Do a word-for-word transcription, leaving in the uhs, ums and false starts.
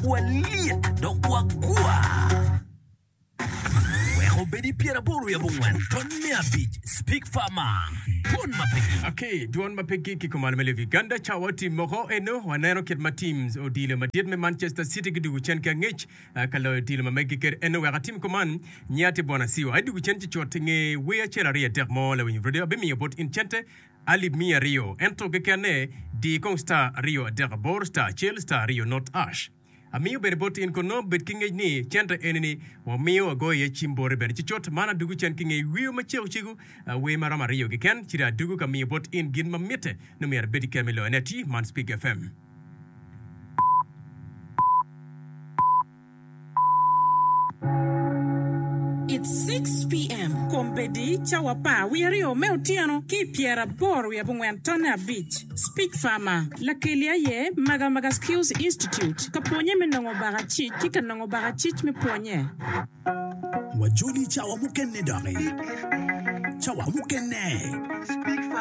Walyet dok wagwa. Wek obed pyeraboro wiye abongwen ton me abic Speak Farmer Dwon ma pe gik. Ok, dwon ma pe gik ki kumalo me lobo Uganda cawa otim moko eno waneno kit ma teams odilo madit me Manchester City gidugo cen ki angec eh, ka loyo odilo ma meggi kede eno wek atim kuman nya tye bwana siwa ai dugo cen ci cut inge wer acel aryo adek mo lawiny radio abimiyo bot in cente alip miya aryo ento kekene di kong star aryo adek aboro star acel star aryo not ash Amiyo bene bot in kono bed ki ngec ni cente eni-ni wamiyo wagoyo iye cim boti bene ci cut man adugu cen ki nge wiyo macego cego wer maromo aryo keken ci dong adugu ka miyo bot in gin ma mitte nongo myero ibed ki kero me loyone atir man Speak FM. It's six PM, Kombeddi cawa apar wiye aryo me otyeno ki i pyeraboro wiye abongwen tonne abic. Speak Farmer, Lakeli aye Magamaga Skills Institute ka pwonye me nongo bakacic ki ka nongo bakacic me pwonye. Wajoli cawa mukene doki. Cawa mukene.